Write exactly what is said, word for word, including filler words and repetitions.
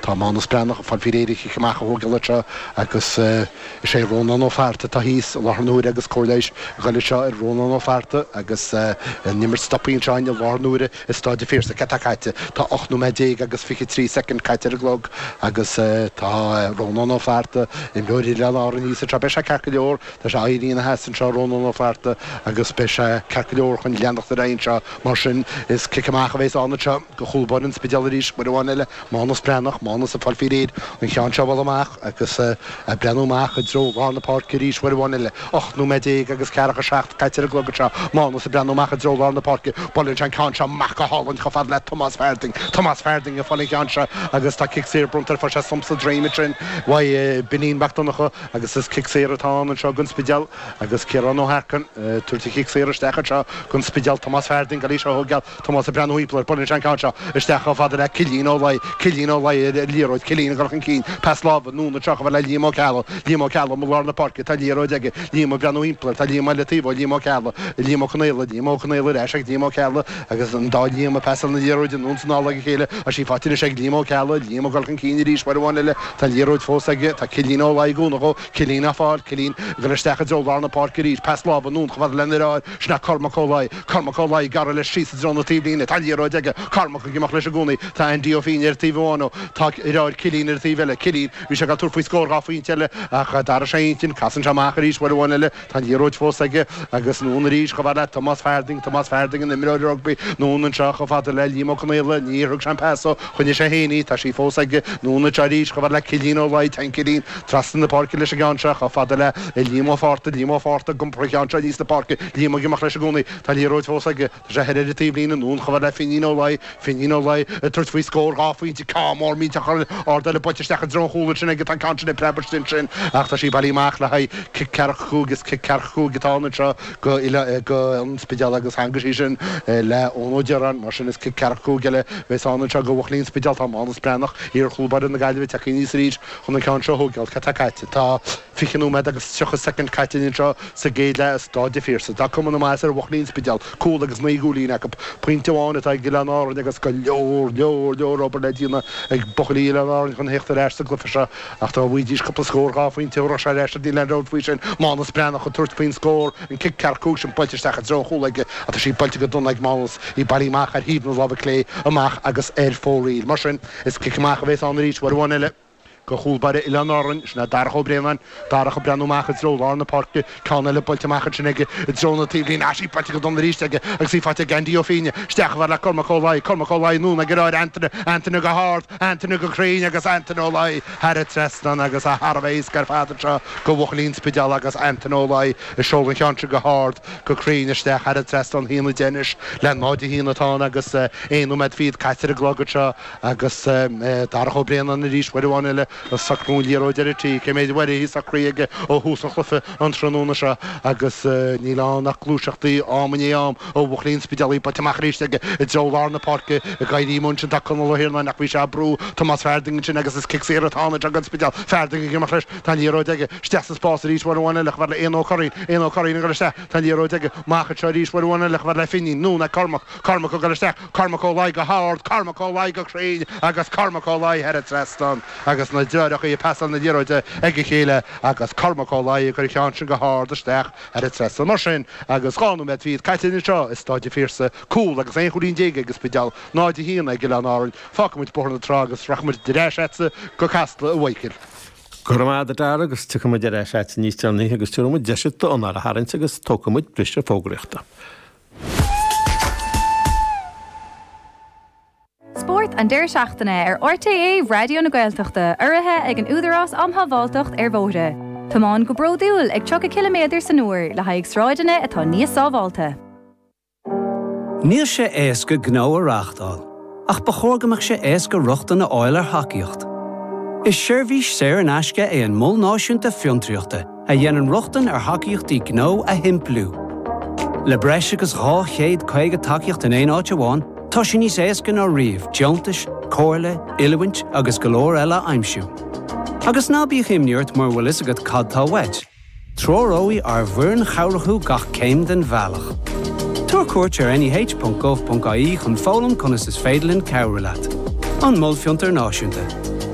Tá Mánas Breathnach ag fáil faoi réir an chic amach a thógáil anseo agus is é Rónán Ó Fátharta atá thíos i láthair na huaire agus cóir leighis ag dul anseo ar Rónán Ó Fátharta agus an imirt stoptha anseo i láthair na huaire i Stáid an Phiarsaigh. Cad tá caite? Tá ocht nóiméad déag agus fiche trí soicind caite ar an gclog agus tá Rónán Ó Fátharta, imreoir Oileáin Árann thíos anseo. Beidh sé ceart go leor. Tá sé éirithe ina sheasamh anseo, Rónán Ó Fátharta, agus beidh sé ceart go leor chun leanacht ar aghaidh anseo. Mar sin, is cic amach a bheas ann anseo do chúl báire an Spidéil arís, uair amháin eile. Mánas Breathnach, Mánas ag fáil faoi réir an ceann seo a bhualadh amach agus ag breathnú amach i dtreo lár na páirce arís uair amháin eile. Ocht nóiméad déag agus ceathracha seacht caite ar an gclog anseo. Mánas ag breathnú amach i dtreo lár na páirce. Buaileann sé an ceann seo amach go hálainn chomh fada le Tomás Farthing. Tomás Farthing ag fáil an cheann seo agus tá cic saor bronnta air. Fuair sé stump sa droim ansin uaidh Beainín Mac Donncha agus is cic saor atá ann anseo don Spidéal agus Ciarán Ó hEarcáin ag tabhairt an chic saor isteach anseo don Spidéal. Tomás Farthing ag dul í seo a thógáil. Tomás ag breathnú thimpeall air. Buaileann sé an ceann seo isteach chomh fada le Cillian Ó Laoi. Cillian Ó Laoi ar an liathróid. Cillian ag dul chun cinn. Pas láimhe anonn anseo chomh fada le Liam Ó Ceallaigh. Liam Ó Ceallaigh i lár na páirce. Tá liathróid aige. Liam ag breathnú thimpeall air. Tá Liam eile taobh ó Liam Ó Ceallaigh. Liam Ó Conaola. Liam Ó Conaola ar ais ag Liam Ó Ceallaigh agus an dá Liam ag pasáil na liathróide anonn is anall ag a chéile. Tá sí faighte anois ag Liam Ó Ceallaigh. Liam ag dul chun cinn arís uair amháin eile. Tá an liathróid fós aige. Tá Cillian Ó Laoi ag cúnamh dhó. Cillian á fáil. Cillian ag dul isteach i dtreo lár na páirce arís. Pas láimhe anonn chomh fada lena dheartháir. Sin é Cormac Ó Laoi. Cormac Ó Laoi ag gearradh leis síos i dtreo na taobhlíne. Tá an liathróid aige. Cormac ag imeacht leis i gcónaí. Tá Andy Ó Fínne ar taobh amháin dhó. Tá a dheartháir Cillian ar an taobh eile. Cillian, bhí sé ag tabhairt faoi scór dhá phointe eile ach d'athraigh sé a intinn. Casann sé amach arís uair amháin eile. Tá an liathróid fós aige agus anonn arís chomh fada le Tomás Farthing. Tomás Farthing, an imreoir rugbaí. Anonn anseo chomh fada le Liam Ó Conaola. Níor thug sé an pas dó. Choinnigh sé féin í. Tá sí fós aige. Anonn anseo arís chomh fada le Cillian Ó Laoi. Téann Cillian trasna na páirce leis an gceann seo chomh fada le Liam Ó Fátharta. Liam Ó Fátharta ag iompar an cheann seo aníos na páirce. Liam ag imeacht leis i gcónaí. Tá an liathróid fós aige. Tá sé thoir ar an taobhlíne anonn chomh fada le Finín Ó Laoi. Finín Ó Laoi ag tabhairt faoi scór dhá phointe. Ceann mór millteach ard eile buailte isteach i dtreo an chúil ansin aige. Tá an ceann sin ag preabadh istigh ansin ach tá sí bailithe amach le haghaidh cic ceathracha cúig. Is cic ceathracha cúig atá ann anseo go go an Spidéal agus theangaigh sí sin le Eoin Ó Direáin. Mar sin is cic ceathracha cúig eile a bheas ann anseo do bhuachaillí an Spidéil. Tá Mánas Breathnach, iar-chúl báire na Gaillimhe, tagtha aníos arís chun an ceann seo a thógáil. Cad tá caite? Tá fiche nóiméad agus tríocha soicind caite anseo sa gcéad leath i Stáid an Phiarsaigh. Tá cuma na maitheasa ar bhuachaillí an Spidéil. Cúl agus naoi gcúilín acu. Pointe amháin atá ag Oileáin Árann agus go leor, leor, leor obair le déanamh ag buachaillí Oileáin Árann chun theacht ar ais sa gcluiche seo. Ach dá bhfaighidís cúpla scór dhá phointe thabharfadh sé ar ais iad, níl aon dabht faoi sin. Mánas Breathnach ag tabhairt faoin scór, an cic ceathracha cúig sin buailte isteach i dtreo an chúil aige ach tá sí buailte go dona ag Mánas, í bailithe amach ar thaobh na láimhe clé amach agus ar fóraoil. Mar sin, is cic amach a bheas ann arís uair amháin eile. Do chúl báire Oileáin Árann, sin é Darach Ó Braonáin. Darach ag breathnú amach i dtreo lár na páirce. Ceann eile buailte amach ansin aige i dtreo na taobhlíne. Tá sí buailte go dona arís aige agus í faighte ag Andy Ó Fínne. Isteach chomh fada le Cormac Ó Laoi. Cormac Ó Laoi anonn ag a dheartháir Antaine. Antaine go hard. Antaine go cruinn agus Antaine Ó Laoi thar an trasnán agus é thar a bheith éasca ar fad anseo do bhuachaillí an Spidéil agus Antaine Ó Laoi ag seoladh an cheann seo go hard go cruinn isteach thar an trasnán. A haon a deich anois le náid a haon atá ann agus aon nóiméad fichead caite ar an gclog anseo. Agus Darach Ó Braonáin arís uair amháin eile ag socrú an liathróid ar an tí. Cé méid uair atá sí socraithe aige ó thús an chluiche an tráthnóna seo agus níl ann ach gluaiseachtaí am i ndiaidh am ó bhuachaillí an Spidéil. Í buailte amach arís aige i dtreo lár na páirce ag éirí amuigh ansin tá Conall Ó hIarnáin ach bhí sé ag brú Tomás Farthing ansin agus is cic saor atá ann anseo don Spidéal. Farthing ag imeacht leis. Tá an liathróid aige. Isteach sa spás arís uair amháin eile chomh fada le Éanna Ó Curraoin. Éanna Ó Curraoin ag dul isteach. Tá an liathróid aige. Amach anseo arís uair amháin eile chomh fada le Finín. Anonn ag Cormac. Cormac ag dul isteach. Cormac Ó Laoi go hard, Cormac Ó Laoi go cruinn agus Cormac Ó Laoi thar an trasnán agus na deartháireacha ag pasáil na liathróide ag a chéile agus Cormac Ó Laoi ag cur an cheann sin go hard isteach thar an trasnán. Mar sin, agus dhá nóiméad fichead caite anseo i Stáid an Phiarsaigh, cúl agus aon chúilín déag ag an Spidéal, náid a haon ag Oileáin Árann, fágfaidh muid Bóthar na Trá agus rachaidh muid ar ais agatsa go Casla, a Mhichíl. Go raibh maith agat a Dhara agus tiocfaidh muid ar ais agat níos deireanaí agus tabharfaidh muid deis duit d'anáil a tharraingt agus tógfaidh muid briseadh fógraíochta. Spórt an deireadh seachtaine ar RTÉ Raidió na Gaeltachta, urraithe ag an Údarás um Shábháilteacht ar Bhóithre. Tiomáin go bródúil ag tríocha ciliméadar san uair le haghaidh sráideanna atá níos sábháilte. Níl sé éasca gnó a reáchtáil, ach ba chóir go mbeadh sé éasca rochtain a fháil ar thacaíocht. Is seirbhís saor in aisce é an Mol Náisiúnta Fiontraíochta a dhéanann rochtain ar thacaíochtaí gnó a shimpliú. Le breis agus dhá chéad caoga tacaíocht in aon áit amháin, tá sé níos éasca ná riamh deontais, comhairle, oiliúint agus go leor eile a aimsiú. Agus ná bíodh imní ort mura bhfuil fhios agat cad tá uait. Treoróidh ár bhfoireann chabhrach thú gach céim den bhealach. Tabhair cuairt ar neh ponc gov ponc ie chun foghlaim conas is féidir linn cabhrú leat. An Mol Fiontar Náisiúnta.